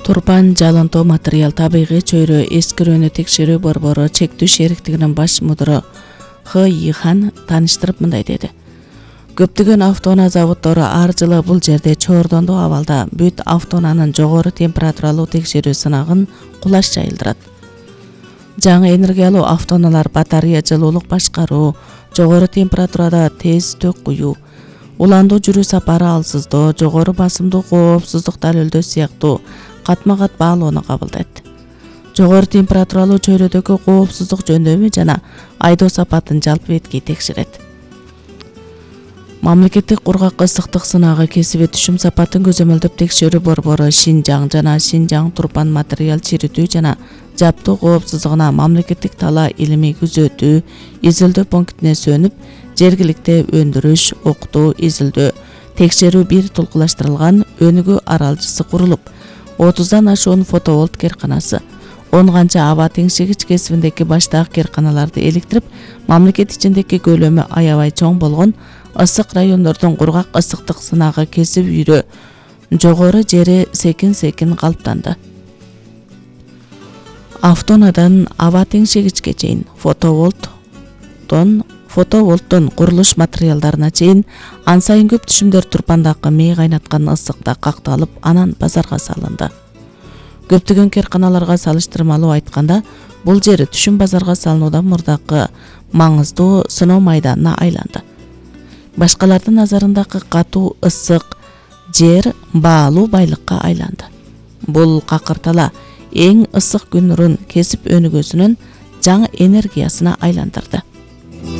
Турпан Жалынтоо материал табигый чөйрө эскирүүнү текшерүү борбору чектүү шериктигинин баш мудиры Х.И.Хан тааныштырып мындай деди. Көптөгөн автоунаа заводдору ар жылы бул жерде чоордондуу абалда бүт автоунаанын жогору температуралуу текшерүү сынагын кулаш жайылдырат. Жаңы энергиялуу автоунаалар батарея жылуулук башкаруу, жогору температурада тез төк куюу, уландуу жүрүү сапары алсыздоо, жогору басымдуу коопсуздук далилдөө сыяктуу катма-кат баалоону кабылдайт. Жогору температуралуу чөйрөдөгү коопсуздук жөндөмү жана айдоо сапатын жалпы бетки текшерет. Мамлекеттик кургак ысыктык сынагы кесиби түшүм сапатын көзөмөлдөп текшерүү борбору Шинжаң жана Шинжаң Турпан материал чиритүү жана жаптоо коопсуздугуна мамлекеттик талаа илимий күзөтүү, изилдөө пунктине сөнүп, жергиликте өндүрүш, окутуу, изилдөө, текшерүү бир толкулаштырылган өнүгүү аралжысы курулуп, 30дан ашуун фотоволт керканасы, 10 канча аба теңшегич кесибиндеги баштаак керканаларды электирип, мамлекет ичиндеги көлөмү аябай чоң болгон ысык райондордун кургак ысыктык сынагы кесип үйрө жогору жери секин калыптанды. Автонаадан аба теңшегичке чейин фотоволттон курулуш материалдарына чейин ан сайын көп түшүмдөр Турпандагы мээ кайнаткан ысыкта какталып, анан базарга салынды. Көптөгөн керканаларга салыштырмалуу айтканда, бул жер түшүм базарга салынуудан мурдакы маңыздуу сыноо майданына айланды. Башкалардын назарындагы катуу ысык жер баалуу байлыкка айланды. Бул какыртала эң ысык күн нурун кесип өнүгүүсүнүн жаңы энергиясына айландырды.